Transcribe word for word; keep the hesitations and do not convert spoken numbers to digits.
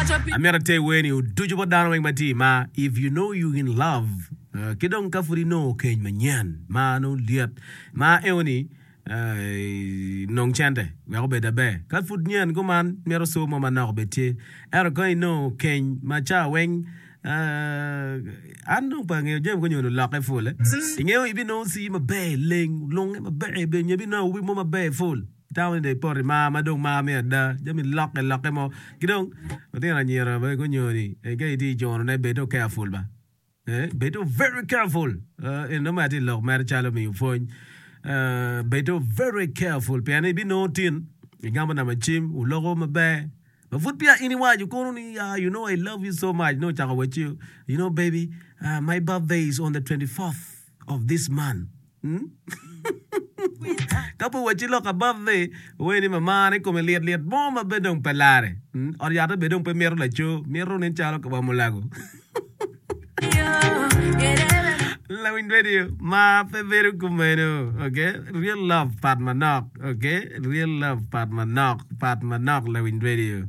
Amito ater wer-ni oducu bot dano weng ma tye i mar. If you know you in love, ki dong ka pud inongo keny manyen ma nongo lyet ma eo-ni, nong cente wek obed aber. Ka pud nyen kuman, mito co mo manok obed tye. Ento ka inongo keny ma ca weng, an dong pe angeyo jami konyo olokke pul. Ingeyo ibinongo cii maber, leng, olunge maber, nyo ibinongo awobi mo maber pul. Itamo ni dong ipoto i mar ma dong mar me ada, jami lokke lokke mo. Ki dong lutino anyira bene gunyoni ka itye i cunone bed dong careful ba. Bed dong very careful. Eni nongo mere atye lok mere calo miyo pwony. Bed dong very careful pien ibinongo tin igamo namba cim wuloko maber ma pud peya in iwaco kono ni you know I love you so much nongo ocako wacci you know baby my birthday is on the twenty fourth of this month. Ka pe owacci lok above-vi, owee ni mamane kome lit lit mo ma bene dong pe lare. Ot yatte bene dong pe mito laco, mito nen calo wa mulago. Lawiny radio, mar pe bedo kumeno, okay? Real love pat manok, okay? Real love pat manok, pat manok lawiny radio.